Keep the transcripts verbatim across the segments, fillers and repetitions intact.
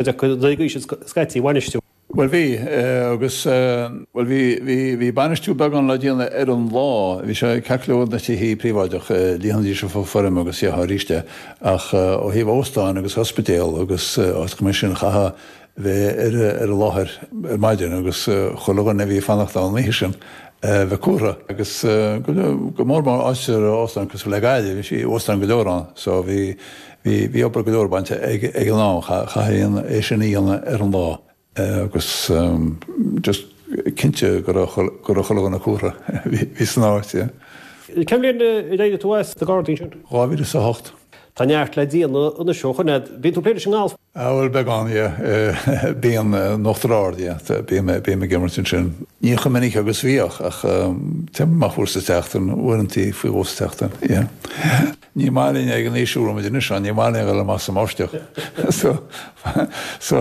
Chuid acu scaití a bhainistiú. Bhuel bhí, agus bhuel bhí, bhí, bhí bainistiú beagán le déanamh ar an lá, bhí sé ceart go leor na tithe príobháideach, líonfaidís an foirm agus dhéanfá arís é, ach ó thaobh óstáin agus ospidéal agus áiteacha mar sin chaithfeá bheith ar ar an láthair ar maidin agus chuile dhuine a bhí ag fanacht ann an oíche sin bheith cúrtha agus go mór mór áit ar óstán cosúil le Gaillimh, bhí óstán go leor ann so bhí, bhí, bhí obair go leor bainte ag ag an am, chaithfí é sin a dhéanamh ar an lá. Agus just cinnte go raibh go raibh chuile dhuine cúrtha bhí san áit, yeah. Cén bhliain a d'éirigh tú as na Gardaí sin? Dhá mhíle is a hocht. Tá neart le déanamh anois ó shoin. Bíonn tú ag plé leis an ngalf? Ah bhuel beagán, yeah. Bíonn in Uachtar Ard, yeah. Bím bím ag imirt ansin. Ní chomh minic agus bhíodh ach téim amach uair sa tseachtain, uaireantaí faoi dhó sa tseachtain, yeah. Ní maith linn ag an aois a bhfuil muid anois ann, ní maith linn a dhul amach sa mbáisteach. So, so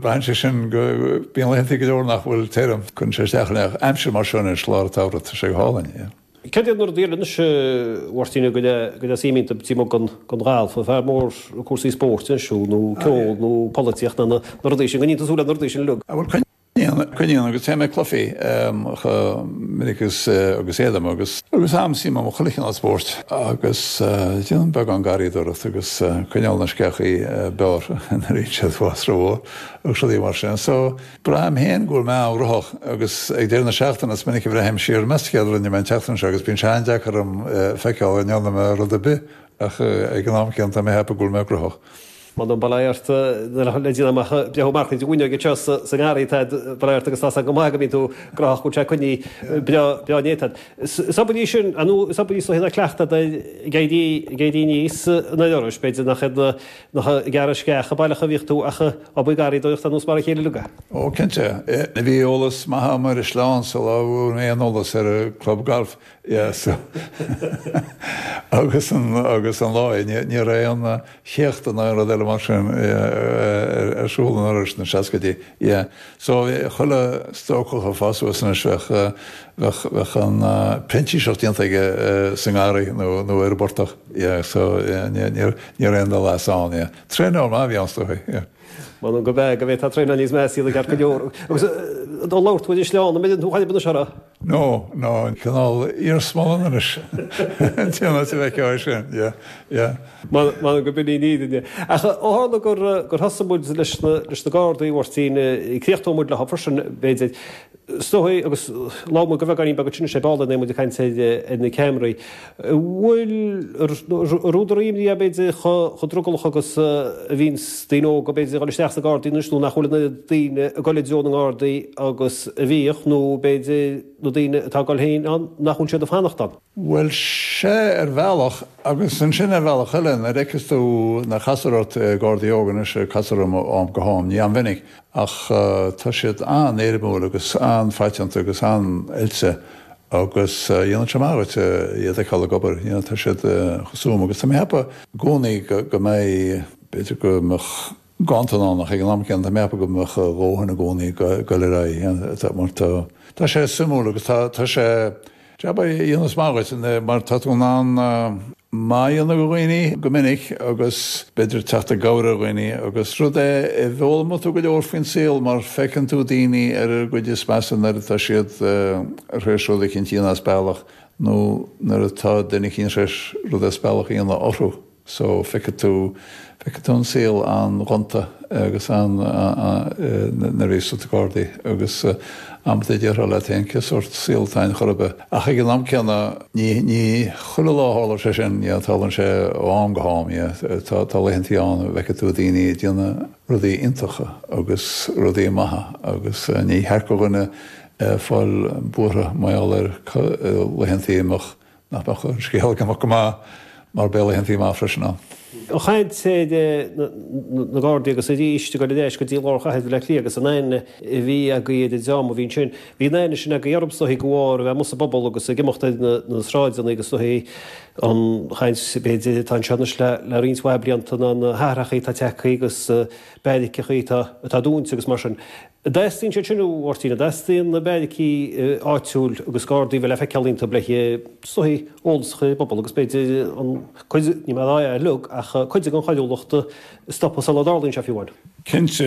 braitheann sé sin go, bíonn laethanta go leor nach bhfuil tirim, cuireann sé isteach orainn ach aimsir mar seo anois, lár an tsamhraidh, tá sé go hálainn, yeah. Cad iad na rudaí eile anois, a Mháirtín, go le suim iontu taobh amuigh den den ghalf, an fear mór cúrsaí spóirt anois thú nó ceol nó polaitíocht nó na rudaí sin, go mbíonn tú súil le na rudaí sin uilig? Ah bhuel, Coinníonn agus téim ag cluichí chomh minic agus agus fhéadaim agus agus am suim agam i chuile chineál spóirt agus déanaim beagán garraíodóireacht agus coinneáil na sceachaí bearrtha nuair a bhíonn siad ag fás rómhór agus rudaí mar sin. So braithim féin go bhfuil mé an-ghnóthach agus ag deireadh na seachtaine is minic a bhreathnaím siar meas tú céard a rinne mé an tseachtain seo agus bíonn sé an-deacair orm feiceáil an ndearna mé rud ar bith ach ag an am céanna tá mé ag ceapadh go bhfuil mé gnóthach. M'anam bail ort le déanamh amach breithiú mar chuid den fhuinneog anseo sa ngarraí tá bail ort agus tá go maith go mbíonn tú gnóthach go bhfuil sé coinnithe breá breá néata. Is obair í sin nó is obair í is dóichí cleachtadh ag éirí ag éirí aníos an Iorrais b'fhéidir nach iad na nach ag gearradh sceach baileach a bhíodh tú ach obair garraíodóireachta nós mar a chéile uilig. Ó cinnte. Bhí eolas maith agam ar an sleán sula bhfuair mé aon eolas ar an club gailf. Yeah so agus an agus an lá ní ní raibh aon chéachta ná aon rud eile mar sin ar siúl in Iorras sna seascaidí. Yeah so chuile stócach ag fás suas anois bheadh bheadh bheadh an printíseacht déanta aige sa ngarraí nó nó ar an bportach. Yeah so yeah ní ní ní raibh aon dul as ann yeah. Traenáil maith a bhí ann is dóigh yeah. M'anam go b'ea go bhféadfá traenáil níos measa iad ceart go leor. Agus do labhair tú ar an sleán, an mbeireann tú chaill anois orthu? No, no, cineál iarsmalann anois. An t-aon áit a bhfeicfeá é sin, yeah, yeah. M'anam go b'in í an fhírinne. Ach ó tharla gur gur thosaigh muid leis na leis na Gardaí, a Mháirtín, críochnóidh muid leo freisin, b'fhéidir. Is dóigh, agus labhair muid go beagáinín beag ansin sé ball nuair muid ag caint ar na ceamaraí, an bhfuil ar údar imní é b'fhéidir chomh drogallach agus a bhíonns daoine óga b'fhéidir ag dul isteach sna Gardaí anois nó nach bhfuil an oiread daoine ag dul i dtreo na nGardaí agus a bhíodh nó b'fhéidir na daoine atá ag dul féin ann nach bhfuil siad ag fanacht ann. Bhuel, sea ar bhealach, agus ansin ar bhealach eile, nuair a fheiceas tú, nuair a chastar ort Gardaí óga anois, castar orm ó am go ham, ní an-mhinic, Ach tá siad an-éirimiúil agus an-phaiteanta agus an-oilte agus dhéanann sé maith dhuit iad a fheiceáil ag obair. You know, tá siad chomh suim agus tá mé ag ceapadh i gcónaí go mbeidh, b'fhéidir go mbeadh ganntan ann ach ag an am céanna tá mé ag ceapadh go mbeadh a dhóthain i gcónaí ag dul ar aghaidh mar tá tá sé suimiúil agus tá tá sé jab a dhéanas maith dhuit mar tá tú in ann maith a dhéanamh do dhaoine go minic agus b'fhéidir teacht i gcabhair ar dhaoine agus rud é a bhfoghlaimeoidh tú go leor faoin saol mar feiceann tú daoine ar a gcuid is measa nuair atá siad tar éis rud eicínt a dhéanamh as bealach nó nuair atá duine eicínt tar éis rud as bealach a dhéanamh orthu. So feicfidh tú, feicfidh tú an saol an-ghonta agus an, nuair a bhíos sna Gardaí agus amanta déarfá leat féin cé sórt saol atá ann chor ar bith. Ach ag an am céanna ní, ní chuile lá a tharla sé sin, yeah, tarlaíonn sé ó am go ham, yeah. Tá, tá laethantaí ann a bhfeicfidh tú daoine ag déanamh rudaí iontacha agus rudaí maithe agus ní cheart do dhuine fáil buartha mar gheall ar laethantaí a mbeadh nach mbeadh an scéal ag imeacht go maith mar beidh laethantaí maith freisin ann. Ag caint ar na Gardaí agus arís ag dul ar ais go dtí lár chathair Bhaile Átha Cliath agus an aithne a bhí agaibh ar an dream a bhí ansin. Bhí an aithne sin agaibh orthu is dóichí de bharr a bheith amuigh sa bpobal agus ag imeacht ar na sráideanna agus is dóichí an chaint b'fhéidir atá anseo anois le roinnt mhaith blianta ná na hathrachaí atá tagtha agus beairiceachaí atá dúnta agus mar sin. An dteastaíonn siad sin, a Mháirtín, an dteastaíonn na beairicí áitiúil agus Gardaí a bheith le feiceáil iontu le is dóichí eolas a chur ar an bpobal agus b'fhéidir an cuid, níl mé ag rá é uilig ach cuid den choiriúlacht stopadh sula dtarlaíonn sé fiú amháin. Cinnte.